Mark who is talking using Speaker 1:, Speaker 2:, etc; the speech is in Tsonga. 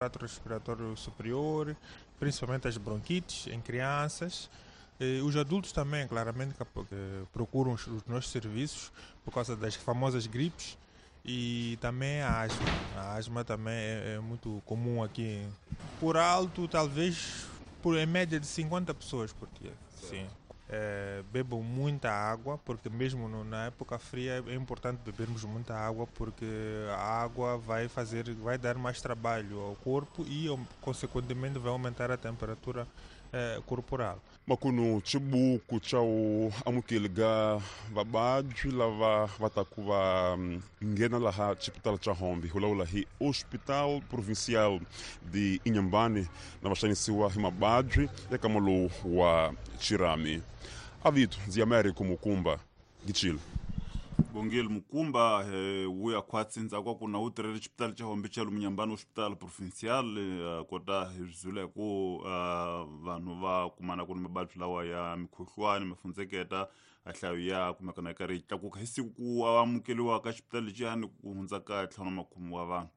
Speaker 1: Trato respiratório superior, principalmente as bronquites em crianças. Os adultos também, claramente, que procuram os nossos serviços por causa das famosas gripes e também a asma. A asma também é muito comum aqui. Por alto, talvez, em média de 50 pessoas por dia. Sim. Bebam muita água, porque mesmo na época fria é importante bebermos muita água, porque a água vai dar mais trabalho ao corpo e, consequentemente, vai aumentar a temperatura corporal.
Speaker 2: Makuno chibuku cha u amukeli ga vababyi lava va taku va nghena laha xipitala xa Hombe, hi vulavula hi Hospital Provincial de Inhambane, na va xanisiwa hi mababyi ya kama lowu wa xirhami. Avito ndzi ya Americo Mukumba Gichile.
Speaker 3: Bongile Mukumba wuya khwatsi ndzhaku ku na wu tirhele xipitali xa Hombe xa Inhambane, Hospital Provincial, kota hi zwile ku vanhu va kumana ku ni mababyi lawa ya mikhuhlwani mafundzeketa, a nhlayo ya kumeka na yi karhi yi tlakuka hi siku ku amukeliwa ka xipitali lexiyani ku hundza ka 50 wa vanhu.